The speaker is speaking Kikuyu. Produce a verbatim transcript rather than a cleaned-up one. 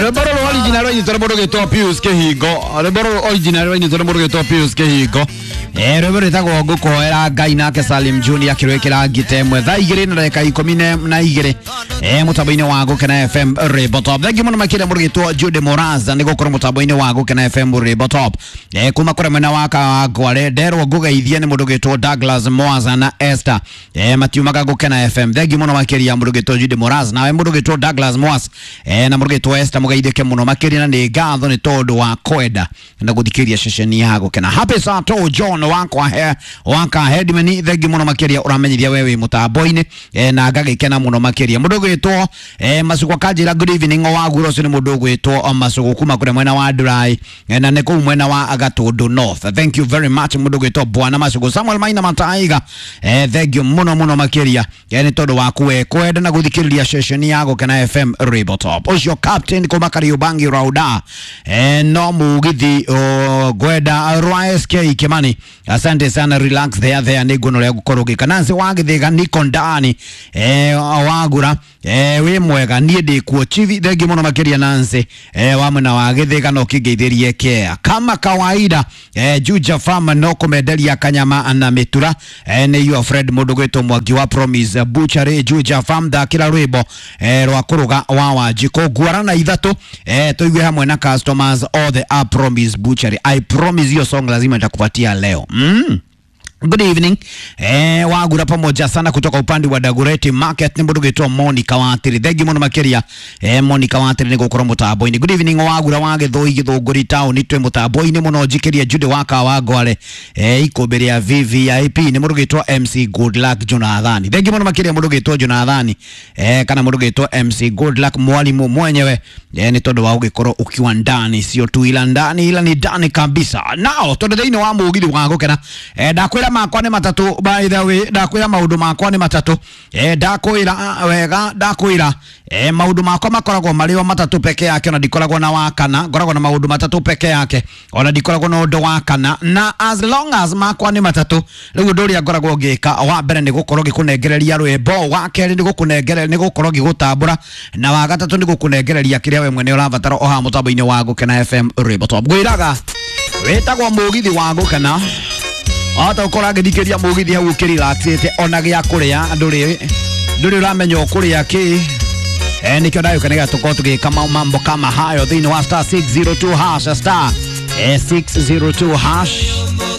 Rwĩmbo rũrũ original rwainĩtwo nĩ mũndũ ũgĩtwo Pius Kĩhingo. Rwĩmbo rũrũ original rwainĩtwo nĩ mũndũ ũgĩtwo Pius Kĩhingo. Eh, rwĩmbo rwĩtagwo Ngũkũhoera Ngai, nake Salim Junior akĩrwĩkĩra ngita ĩmwe thaa igĩrĩ na ndagĩka ikũmi na na igĩrĩ eh, mũtambo-inĩ wa Gũkena F M Rwĩmbo Top. Thengiũ mũno makĩria mũndũ ũgĩtwo Jude Moraza nĩ gũkorwo mũtambo-inĩ wa Gũkena F M Rwĩmbo Top. Eh, kuma kũrĩa mwena wa Kawangware nderwo ngũgeithie nĩ mũndũ ũgĩtwo Douglas Mwaza na Esther, eh, matiumaga Gũkena F M. Thengiũ mũno makĩria mũndũ ũgĩtwo Jude Moraza, nawe mũndũ ũgĩtwo Douglas Mwaza eh, na mũndũ ũgĩtwo Esther, mũgeithĩke mũno makĩria na nĩ ngatho nĩ tondũ wa kwenda na gũthikĩrĩria ceceni ya Gũkena. Happy Sato John wakwa he waka headman, thengiũ mũno makĩria, ũramenyithia we wĩ mũtambo-inĩ eh, na ngagĩkena mũno makĩria. Mũndũ ũgwĩtwo eh, Macugwa kanjĩra good evening wagura, ũcio nĩ mũndũ ũgwĩtwo Macugũ kuma kũrĩa mwena wa Ndurai eh, na nĩ kũu mwena wa Gatũndũ North. Thank you very much, mũndũ ũgwĩtwo Bwana Macugũ. Samuel Maina Mataiga, eh, thank you mũno mũno makĩria eh, nĩ tondũ waku we kwenda na gũthikĩrĩria ceceni ya Gũkena F M Rwĩmbo Top. Ũcio captain kuma Kariũbangi Rauda, eh, no mugithi oh, ngwenda rwa S K Kimani, asante sana, relax there there, nĩ nguona ũrĩa ngũkorwo ngĩka. Nancy wa Gĩthĩga niko ndani, eh, wagura eh, wĩ mwega, niĩ ndĩkuo chivi. Thengi mũno makĩria Nancy eh, wa mwena wa Gĩthĩga, no kĩngeithĩrie kea kama kawaida. eh, Juja Farm no kũmenderia kanyama na mĩtura, eh, nĩ your friend mũndũ gwĩtwo Mwangi wa Promise Butchery Juja Farm. Thakĩra rwĩmbo eh, rwa kũrũga wa Wanjikũ nguara na ithatũ, eh, tũigue hamwe na customers all the a Promise Butchery. I promise hiyo song lazima nitakupatia leo mm. Good evening. Eh, wagura pamoja sana kutoka upande wa Dagoretti Market ni mũndũ gwĩtwo Monica Watiri. Thank you mũno makĩria. Eh, Monica Watiri nĩ gũkorwo mũtambo-inĩ. Good evening wagura wa Gĩthũi Gĩthũngũri town twĩ mũtambo-inĩ mũno, njikĩria Jude wa Kawangware. Eh, ikũmbĩ rĩa V V I P nĩ mũndũ gwĩtwo M C Good Luck Jonathan. Thank you mũno makĩria mũndũ gwĩtwo Jonathan. Eh, kana mũndũ gwĩtwo M C Good Luck mwalimu mwenyewe. Eh, nĩ tondũ wa gũgĩkorwo ukiwa ndani, sio tu ila ndani, ila ni ndani kabisa. Nao tondũ thĩinĩ wa mũgithi wa Gũkena eh, ndakwĩra makwa nĩ matatũ. By the way, ndakwĩra maũndũ makwa nĩ matatũ. eh, ndakwĩra wega, ndakwĩra eh, maũndũ makwa makoragwo marĩ o matatũ peke yake, ona ndikoragwo na wa kana, ngoragwo na maũndũ matatũ peke yake, ona ndikoragwo na ũndũ wa kana. Na as long as makwa nĩ matatũ, rĩu ũndũ ũrĩa ngoragwo ngĩka wa mbere nĩ gũkorwo ngĩkũnengereria rwĩmbo, wa kerĩ nĩ gũkũnengere nĩ gũkorwo ngĩgũtambũra, na wa gatatũ nĩ gũkũnengereria kĩrĩa we mwene ũrabatara o haha mũtambo-inĩ wa Gũkena F M Rwĩmbo Top. Ngwĩraga wĩtagwo mũgithi wa Gũkena, wahota gũkorwo agĩthikĩria mũgithi hau ũkĩrelaxĩte, ona gĩa kũrĩa ndũrĩ ndũrĩ ũramenya ũkũrĩa kĩ. Eh, nĩkĩo ndagĩũka nĩgetha tũkorwo tũgĩka mau mambo kama hayo thĩinĩ wa star six zero two hash, star eh, six zero two hash.